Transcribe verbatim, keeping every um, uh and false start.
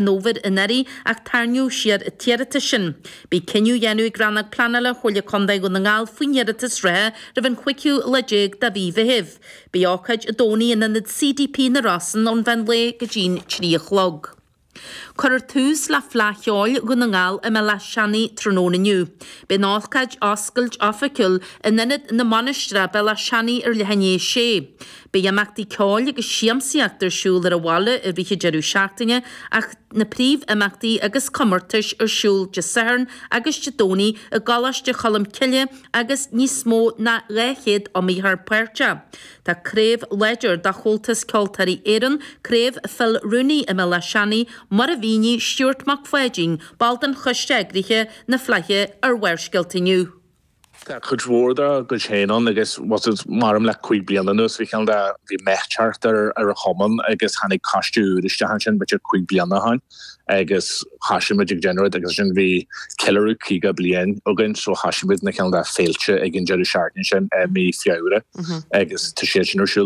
Fhómhair anuraidh ach tarraingíodh siar an t-iarratas sin. Beidh cinneadh á dhéanamh ag Rannóg Pleanála Chomhairle Contae Dhún na nGall faoin iarratas reatha roimh an chúigiú lá déag de mhí Mheithimh. Beidh ócáid Dé Domhnaigh in ionad C D P na Rosann ón mheán lae go dtí'n trí a chlog. Cuirfear tús le Fleadh Cheoil Dhún na nGall i mBéal Átha Seanaidh tráthnóna inniu. Beidh an ócáid oscailt oifigiúil in Ionad na Mainistreach Béal Átha Seanaidh ar leath i ndiaidh a sé. Beidh imeachtaí ceoil agus siamsaíocht ar siúl ar an bhaile i rith an deireadh seachtaine ach na príomh-imeachtaí agus comórtais ar siúl Dé Sathairn agus Dé Domhnaigh i gColáiste Cholm Cille agus níos mó ná dhá chéad iomaitheoir páirteach. Tá craobh láidir de Chomhaltas Ceoltóirí Éireann, Craobh Phil Rooney i mBéal Átha Seanaidh, mar a mhínigh Stuart Mac Pháidín, ball den choiste eagraithe na Fleidhe ar Bharrscéalta inniu. Tá cuid mhór dá gcuid féin ann agus maram le cúig bliana anuas bhí ceann de bhí meath thart ar ar an chumann agus tháinig coiste úr isteach ansin b'fhéidir cúig bliana ó shin agus thosaigh muid ag déanamh rud agus ansin bhí ceiliúradh caoga bliain againn so thosaigh muid na ceann de féilte ag an deireadh seachtaine sin i mí Feabhra agus tá siad sin ar siúl.